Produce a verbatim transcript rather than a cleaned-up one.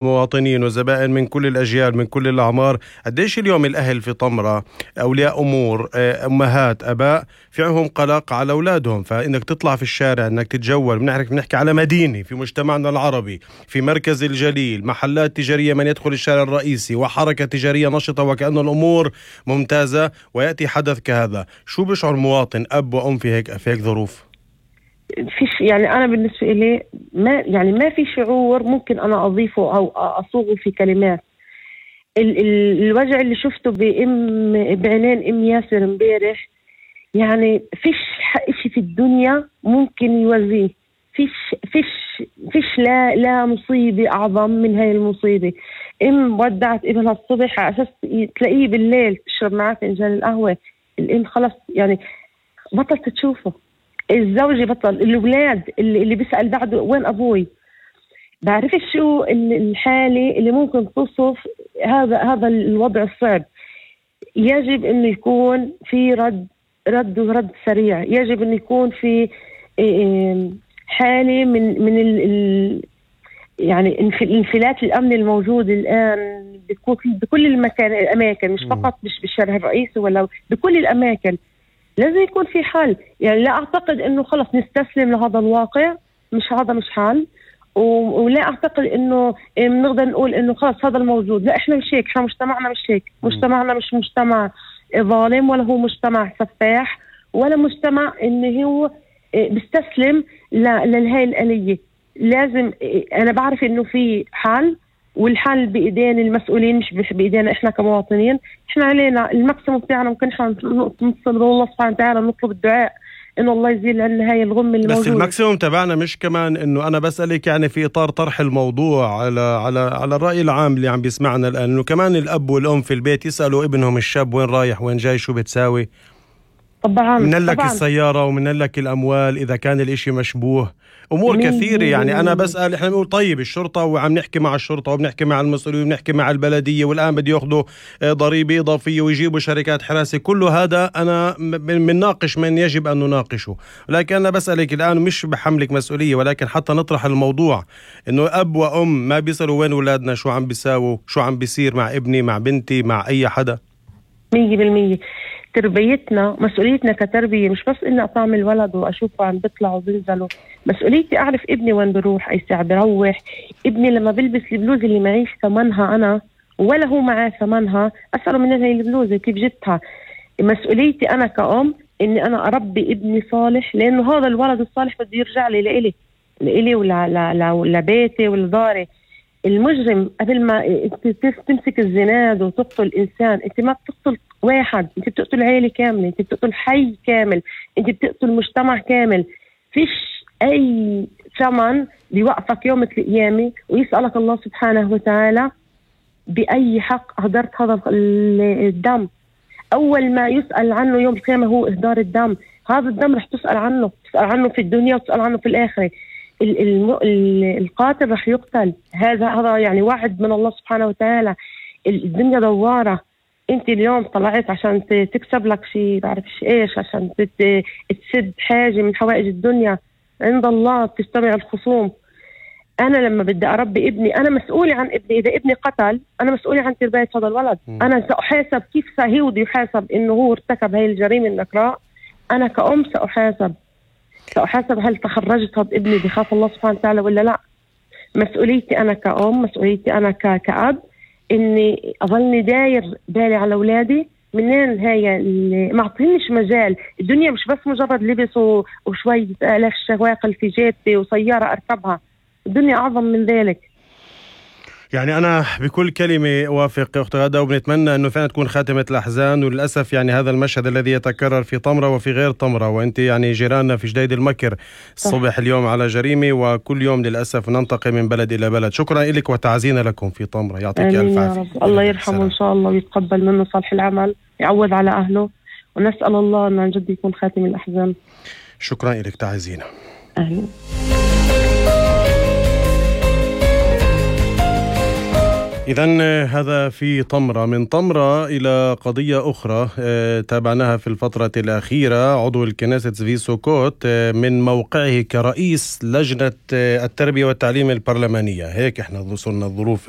مواطنين وزبائن من كل الأجيال من كل الأعمار. قديش اليوم الأهل في طمرة أولياء أمور أمهات أباء في عندهم قلق على أولادهم، فإنك تطلع في الشارع إنك تتجول، بنحكي بنحكي على مدينة في مجتمعنا العربي في مركز الجليل، محلات تجارية من يدخل الشارع الرئيسي وحركة تجارية نشطة وكأن الأمور ممتازة، ويأتي حدث كهذا، شو بيشعر مواطن أب وأم في هيك في هيك ظروف؟ فيش يعني أنا بالنسبة إلي ما يعني ما في شعور ممكن أنا أضيفه أو أصوغه في كلمات. ال ال الوجع اللي شفته بأم بعينين أم ياسر امبارح، يعني فيش إشي في الدنيا ممكن يوازيه. فيش فيش فيش لا لا مصيبة أعظم من هاي المصيبة. أم ودعت ابنها الصبح على أساس تلاقيه بالليل تشرب معاه فنجان القهوة، الأم خلص يعني بطلت تشوفه. الزوجة بطل، الأولاد اللي, اللي بيسأل بعده وين أبوي. بعرف شو الحالة اللي ممكن تصف هذا هذا الوضع الصعب. يجب أن يكون في رد رد ورد سريع، يجب أن يكون في حالة من من ال يعني الانفلات الأمن الموجود الآن بكل المكان الأماكن، مش فقط مش بالشارع الرئيسي ولا بكل الأماكن. لازم يكون في حل. يعني لا أعتقد إنه خلص نستسلم لهذا الواقع، مش هذا مش حل. ولا أعتقد إنه بنقدر نقول إنه خلص هذا الموجود. لا، إحنا مش هيك، إحنا مجتمعنا مش هيك. مجتمعنا مش مجتمع ظالم، ولا هو مجتمع سفاح، ولا مجتمع إنه هو بيستسلم لهاي الآلية. لازم أنا بعرف إنه في حل، والحل بإيدين المسؤولين مش بإيدينا إحنا كمواطنين. إحنا علينا الماكسيموم بتاعنا ممكن إحنا نتصل بالله سبحانه وتعالى نطلب الدعاء إنه الله يزيل عنا هاي الغم اللي بس موجودة. الماكسيموم تبعنا مش كمان إنه أنا بسألك يعني في إطار طرح الموضوع على على على الرأي العام اللي عم بيسمعنا الآن، إنه كمان الأب والأم في البيت يسألوا ابنهم الشاب وين رايح وين جاي شو بتساوي. طبعا من لك طبعاً. السيارة ومن لك الأموال إذا كان الإشي مشبوه، أمور كثيرة. يعني أنا بسأل، إحنا بنقول طيب الشرطة وعم نحكي مع الشرطة وبنحكي مع المسؤولين وبنحكي مع البلدية، والآن بدي يأخذوا ضريبة إضافية ويجيبوا شركات حراسة. كل هذا أنا بنناقش من يجب أن نناقشه، ولكن أنا بسألك الآن مش بحملك مسؤولية، ولكن حتى نطرح الموضوع إنه أب وأم ما بيسألوا وين أولادنا، شو عم بيساووا، شو عم بيصير مع ابني مع بنتي مع أي حدا. مية بالمية تربيتنا، مسؤوليتنا كتربية مش بس إني أطعم الولد وأشوفه عم بيطلع وبينزلوا. مسؤوليتي أعرف ابني وين بروح، أي ساعة بروح. ابني لما بلبس البلوزة اللي معيش ثمنها أنا ولا هو معاه ثمنها، أسأله من هاي البلوزة كيف جبتها. مسؤوليتي أنا كأم إني أنا أربي ابني صالح، لأنه هذا الولد الصالح بده يرجع لي لإلي لإلي ولا لبيتي ولا داري. المجرم قبل ما تمسك الزناد وتقتل إنسان، أنت ما بتقتل واحد، أنت بتقتل عائلة كاملة، أنت بتقتل حي كامل، أنت بتقتل مجتمع كامل. فيش أي ثمن بيوقفك يوم القيامة ويسألك الله سبحانه وتعالى بأي حق أهدرت هذا الدم. أول ما يسأل عنه يوم القيامة هو إهدار الدم. هذا الدم رح تسأل عنه، تسأل عنه في الدنيا وتسأل عنه في الآخرة. القاتل رح يقتل. هذا هذا يعني وعد من الله سبحانه وتعالى. الدنيا دوارة. انت اليوم طلعت عشان تكسب لك شيء بعرفش ايش، عشان تسد حاجة من حوائج الدنيا، عند الله تجتمع الخصوم. انا لما بدي اربي ابني انا مسؤولة عن ابني. اذا ابني قتل انا مسؤولة عن تربية هذا الولد. م. انا سأحاسب كيف سهيود يحاسب انه هو ارتكب هاي الجريمة النكراء. انا كأم سأحاسب سأحاسب هل تخرجت هذا ابني بخاف الله سبحانه وتعالى ولا لا. مسؤوليتي أنا كأم، مسؤوليتي أنا كأب، إني أظلني داير بالي على أولادي. منين هاي اللي ما عطينيش مجال. الدنيا مش بس مجرد لبس وشوية آلاف شواقل في جيبتي وسيارة أركبها. الدنيا أعظم من ذلك. يعني أنا بكل كلمة وافق أخت غادة، وبنتمنى أنه فعلا تكون خاتمة الأحزان. وللأسف يعني هذا المشهد الذي يتكرر في طمرة وفي غير طمرة، وأنت يعني جيراننا في جديد المكر الصبح اليوم على جريمة، وكل يوم للأسف ننتقل من بلد إلى بلد. شكرا لك وتعزينا لكم في طمرة. يعطيك ألف عافية. الله يرحمه إن شاء الله ويتقبل منه صالح العمل، يعوض على أهله، ونسأل الله أن عن جد يكون خاتم الأحزان. شكرا لك، تعزينا. أهلا. إذن هذا في طمرة. من طمرة إلى قضية أخرى تابعناها في الفترة الأخيرة. عضو الكنيست زفي سوكوت من موقعه كرئيس لجنة التربية والتعليم البرلمانية، هيك احنا وصلنا الظروف